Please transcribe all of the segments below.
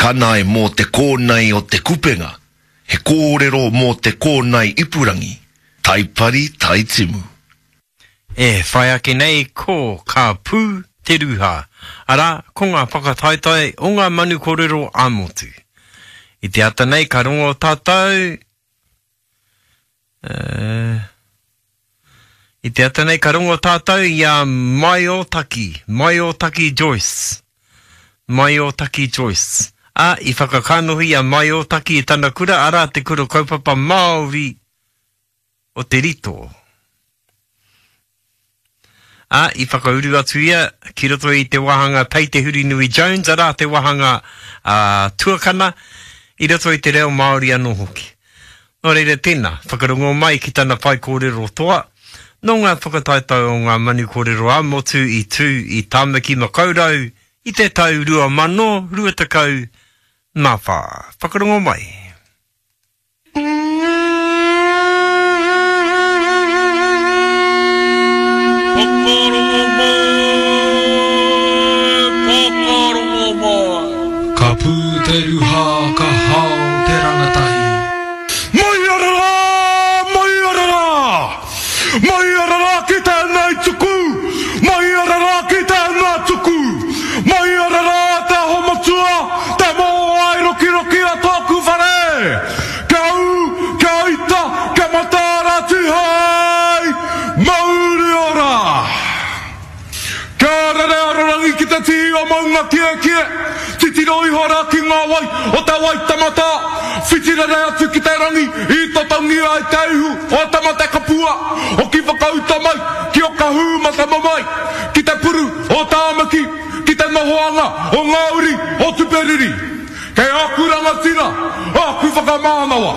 kanae mō te kōnae o Te Kupenga, he kōrero mō te kōnae ipurangi, Taipari Taitimu. E whai ake nei ko Ka Pū Te Rūhā, arā, ko ngā whakataetae o ngā manu kōrero ā-motu. I te ata nei ka rongo tātou, uh, i te ata nei ka rongo tātou i a Maiotaki, Maiotaki Joyce. Maiotaki Joyce. Ā, i whakakanohi a Maiotaki i tana kura, arā, te kura kaupapa Māori o Te Rito. Ā, i whakauru atu ia ki roto i te wāhanga Pei Te Hurinui Jones, arā te wāhanga ā, tuakana, i roto i te reo Māori anō hoki. Nō reira tēnā, whakarongo mai ki tana whaikōrero toa, nō ngā whakataetae o ngā manu kōrero ā-motu i tū i Tāmaki Makaurau i te tau 2024. Whakarongo mai. Whakarongo mai, whakarongo mai. Ka pū te ruha, ka hao te rangatahi. Mai ara rā, mai ara rā. Mai ara rā ki tēnei tuku, mai ara rā ki tēnā tuku. Mai ara rā te aho matua, te mōai rokiroki a tōku whare. Kia ū, kia ita, kia mataara tihei, mauri ora! Kia rere arorangi ki te tihi o Maunga Kiekie, titiro iho rā ki ngā wai o te Waitematā, whiti rere atu ki te rangi i totongia ai te ihu o Tamatekapua, hoki whakauta mai ki Okahūmatamamae, ki te puru o Tāmaki, ki te nohoanga o ngā uri o Tuperiri. Kei āku rangatira, āku whakamānawa.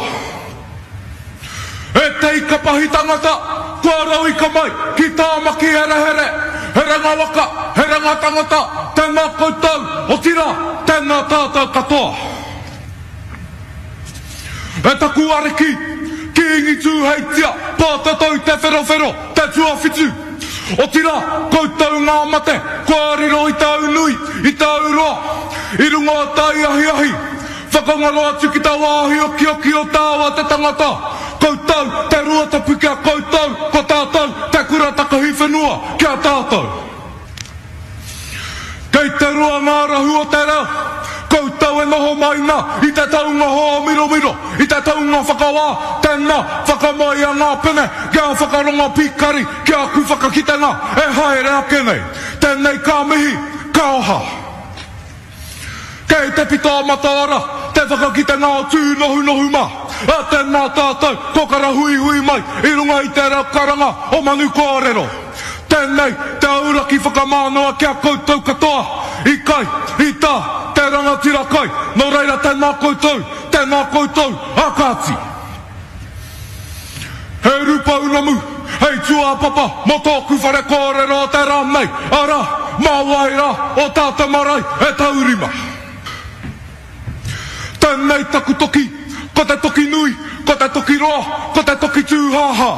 E te ika pahi tangata, kua rauika mai ki Tāmaki herehere, he ranga waka, he ranga tangata, tēnā koutou, otirā, tēnā tātou katoa. E taku ariki, Kīngi Tūheitia, Pōtatau Te Wherowhero, te tuawhitu, otirā, koutou ngā mate, kua riro i tāu nui, i tāu roa, i runga o tai ahiahi, Whakangaro atu ki ta wāhi okioki o tāua te tangata, koutou te Ruatapu ki a koutou, ko tātou te kura takahi whenua ki a tātou. Kei te roa ngā rahu o te reo, koutou e noho mai na i te taunga hōmiromiro, i te taunga whakawā, tēnā, whakamaia ngā pene kia whakarongo pīkari ki aku whakakitenga e haere ake nei. Tēnei ka mihi, ka oha. Kei te pito o Mataora te whakakitenga o Tūnohunohu mā, ā, tēnā tātou ko karahuihui mai i runga i te reo karanga o Manu Kōrero. Tēnei te auraki whakamānawa ki a koutou katoa i kai, i tā, te rangatira kai, nō reira tēnā koutou, tēnā koutou, ā kāti. He urupounamu hei tūāpapa mō tōku whare kōrero o te rā nei, arā, mā wai rā o tātou marae e taurima. Tēnei taku toki, ko te toki nui, ko te toki roa, ko te toki tūhāhā.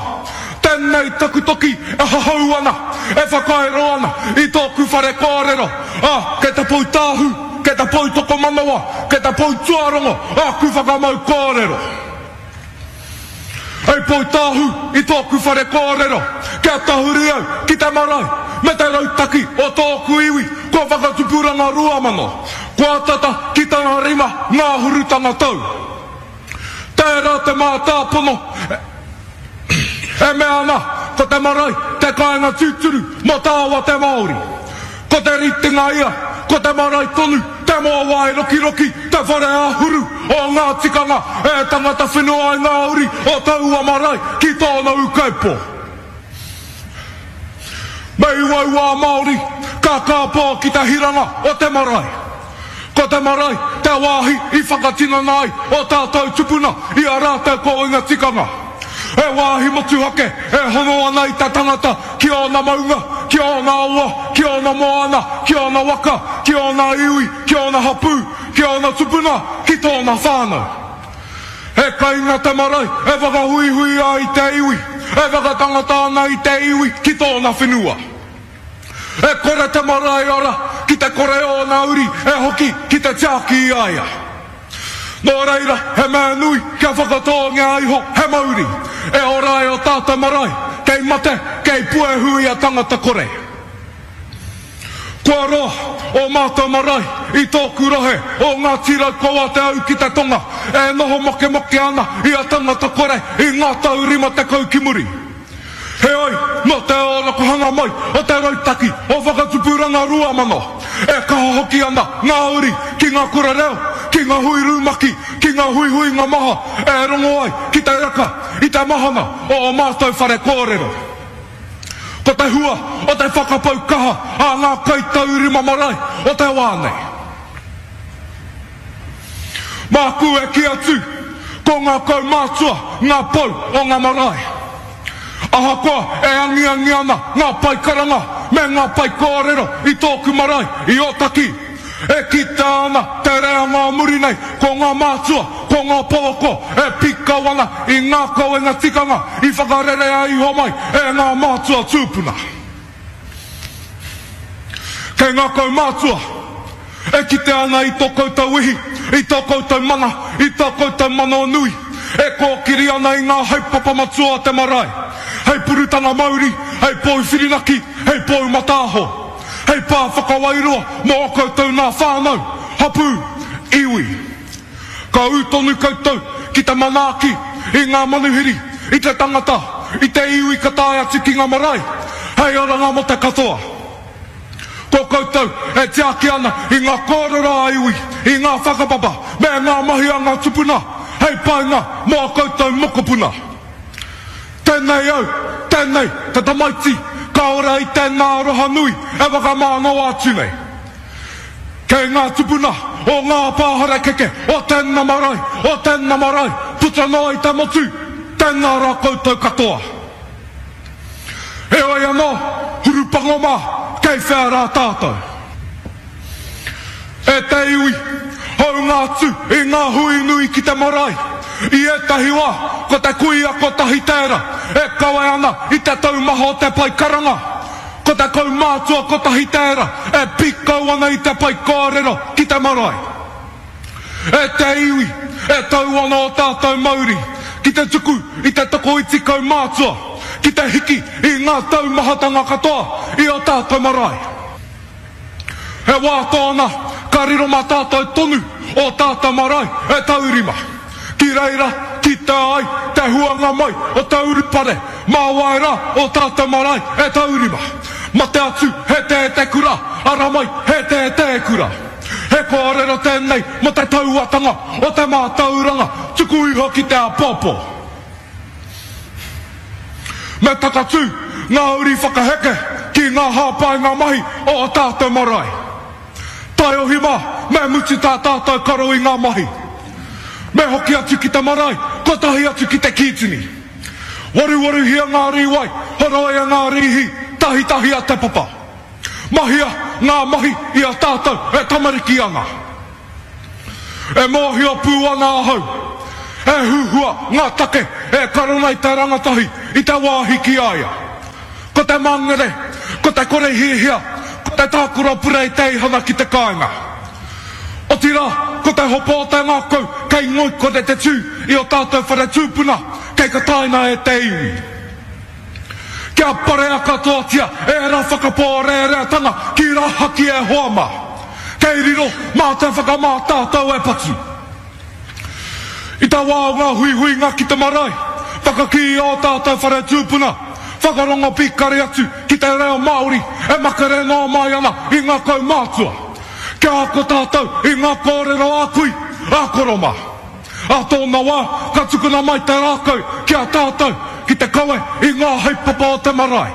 Tēnei taku toki e hahau ana, e whakaero ana i tōku whare kōrero, ā, kei te pou tāhū, kei te pou tokomanawa, kei te pou tuarongo āku whakamau kōrero. Hei poutāhū i tōku whare kōrero, kia tahuri au ki te marae me te rautaki o tōku iwi kua whakatupuranga 2000, kua tata ki tana rima ngāhurutanga tau. Tērā te mātāpono e mea ana ko te marae te kāinga tūturu mō tāua te Māori. Ko te ritenga ia, ko te marae tonu, te mōwai rokiroki, te whare āhuru o ngā tikanga e tangata whenua ai ngā uri o taua marae ki tōna ūkaipō. Me uaua a Māori ka kāpō ki te hiranga o te marae. Ko te marae te wāhi i whakatinana ai o tātou tupuna i a rātou kōinga tikanga. He wāhi motuhake e hono ana i te tangata ki ōna maunga, ki ōna awa, ki ōna moana, ki ōna waka, ki ōna iwi, ki ōna hapū, ki ōna tupuna, ki tōna whānau. He kainga te marae e whakahuihui ai i te iwi, e whakatangata ana i te iwi ki tōna whenua. E kore te marae ora ki te kore ōna uri e hoki ki te tiaki i a ia. Nō reira, he mea nui kia whakatōngia iho he mauri e ora ai o tātou marae, kei mate, kei puehu i a tangata kore. Kua roa ō mātou marae i tōku rohe o Ngāti Raukawa Te Au ki te Tonga e noho mokemoke ana i a tangata kore i ngā tau 50 ki muri. Heoi, nō te ōrokohanga mai o te rautaki o Whakatupuranga 2000, e kaha hoki ana ngā uri ki ngā kura reo, ki ngā hui rumaki, ki ngā huihuinga maha e rongo ai ki te reka i te mahana o ō mātou whare kōrero. Ko te hua o te whakapau kaha a ngā kaitaurima marae o te wā nei. Māku e kī atu, ko ngā kaumātua ngā pou o ngā marae. Ahakoa e angiangi ana ngā pae karanga me ngā pae kōrero i tōku marae, i Ōtaki, e kitea ana te reanga o muri nei ko ngā mātua, ko ngā pouako e pīkau ana i ngā kawenga tikanga i whakarerea iho mai e ngā mātua tūpuna. Kei ngā kaumātua e kitea ana i tō koutou ihi, i tō koutou mana, i tō koutou manawa nui, e kōkiri ana i ngā haepapa matua o te marae, hei purutanga mauri, hei pou whirinaki, hei pou mataaho, hei pā whakawairua mō ō koutou nā whānau, hapū, iwi. Ka ū tonu koutou ki te manaaki i ngā manuhiri, i te tangata, i te iwi ka tae atu ki ngā marae, hei oranga mō te katoa. Ko koutou e tiaki ana i ngā kōrero ā-iwi, i ngā whakapapa me ngā mahi a ngā tupuna hei painga mō ā koutou mokopuna. Tēnei au, tēnei te tamaiti ka ora i tēnā aroha nui e whakamānawa atu nei. Kei ngā tupuna o ngā pā harakeke o tēnā marae, o tēnā marae, puta noa i te motu, tēnā rā koutou katoa. Heoi anō, hurupango mā, kei whea rā tātou? E te iwi, hāunga atu i ngā hui nui ki te marae, i ētahi wā ko te kuia kotahi tērā e kawe ana i te taumaha o te pae karanga, ko te kaumātua kotahi tērā e pīkau ana i te pae kōrero ki te marae. E te iwi, e tau ana ō tātou mauri ki te tuku i te tokoiti kaumātua ki te hiki i ngā taumahatanga katoa i ō tātou marae. He wā tōna ka riro mā tātou tonu ō tātou marae e taurima. Ki reira kitea ai te huanga mai o te urupare mā wai rā ō tātou marae e taurima. Mate atu he tēte kura, ara mai he tētē kura. He kōrero tēnei mō te tauatanga o te mātauranga tuku iho ki te āpōpō. Me takatū ngā uri whakaheke ki ngā hāpainga mahi o ō tātou marae. Taiohi mā, me mutu tā tātou karo i ngā mahi. Me hoki atu ki te marae, kotahi atu ki te kītini. Waruwaruhia ngā rīwai, horoia ngā rīhi, tahitahia te papa. Mahia ngā mahi i a tātou e tamariki ana. E mōhio pū ana ahau, he huhua ngā take e karo nei te rangatahi i te wāhi ki a ia. Ko te mangere, ko te kore hiahia, ko te tākaro purei-teihana ki te kāinga. Otirā, ko te hopo o te ngākau kei ngoikore te tū i ō tātou whare tūpuna kei kataina e te iwi. Kia parea katoatia ērā whakapōrēreatanga ki rahaki e hoa mā. Kei riro mā te whakamā tātou e patu. I te wā o ngā huihuinga ki te marae, whakakīia ō tātou whare tūpuna, whakarongo pīkari atu ki te reo Māori e makere noa mai ana i ngā kaumātua. Kia ako tātou i ngā kōrero a kui, a koro mā. Ā tōna wā, ka tukuna mai te rākau ki a tātou ki te kawe i ngā haepapa o te marae.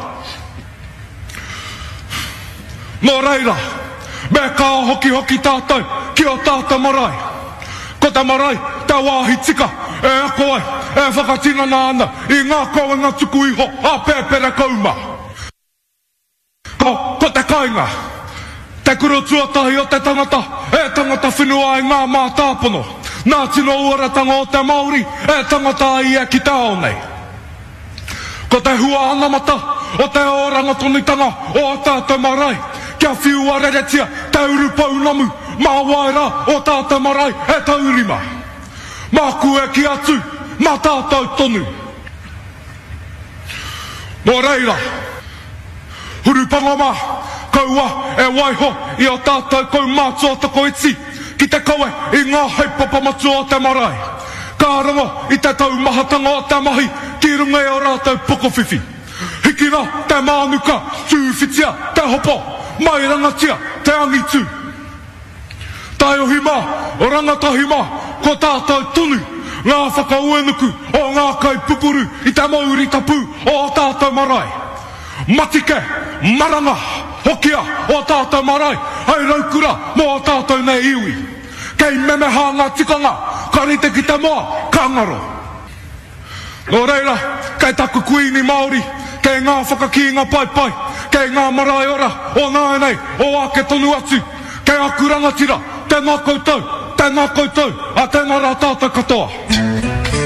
Nō reira, me kā hokihoki tātou ki ō tātou marae. Ko te marae te wāhi tika e ako ai, e whakatinana ana i ngā kawenga tuku iho a Pēperekōuma. Ko te kainga, te kura tuatahi o te tangata e tangata whenua ai ngā mātāpono, nā tino uaratanga o te Māori e tangata ai ia ki te ao nei. Ko te hua anamata o te oranga tonutanga o ō tātou marae, kia whiua reretia te urupounamu mā wai rā ō tātou marae e taurima. Māku e kī atu, mā tātou tonu. Nō reira, hurupanga mā, kaua e waiho i ō tātou kaumātua tokoiti ki te kawe i ngā haepapa matua o te marae. Ka rongo i te taumahatanga o te mahi ki runga i ō rātou pokowhiwhi. Hikina te mānuka, tūwhitia te hopo, mairangatia te angitu. Taiohi mā, rangatahi mā, ko tātou tonu ngā whakauenuku o ngā kaipupuru i te mauri tapu o ō tātou marae. Matike, maranga, hokia ō tātou marae hei raukura mō ō tātou nei iwi. Kei memeha ngā tikanga, ka rite ki te moa, ka ngaro. Nō reira, kei taku Kuini Māori, kei ngā whakakīnga paepae, kei ngā marae ora o nāianei, o ake tonu atu, kei aku rangatira, tēnā koutou, tēnā koutou, ā tēnā rā tātou katoa.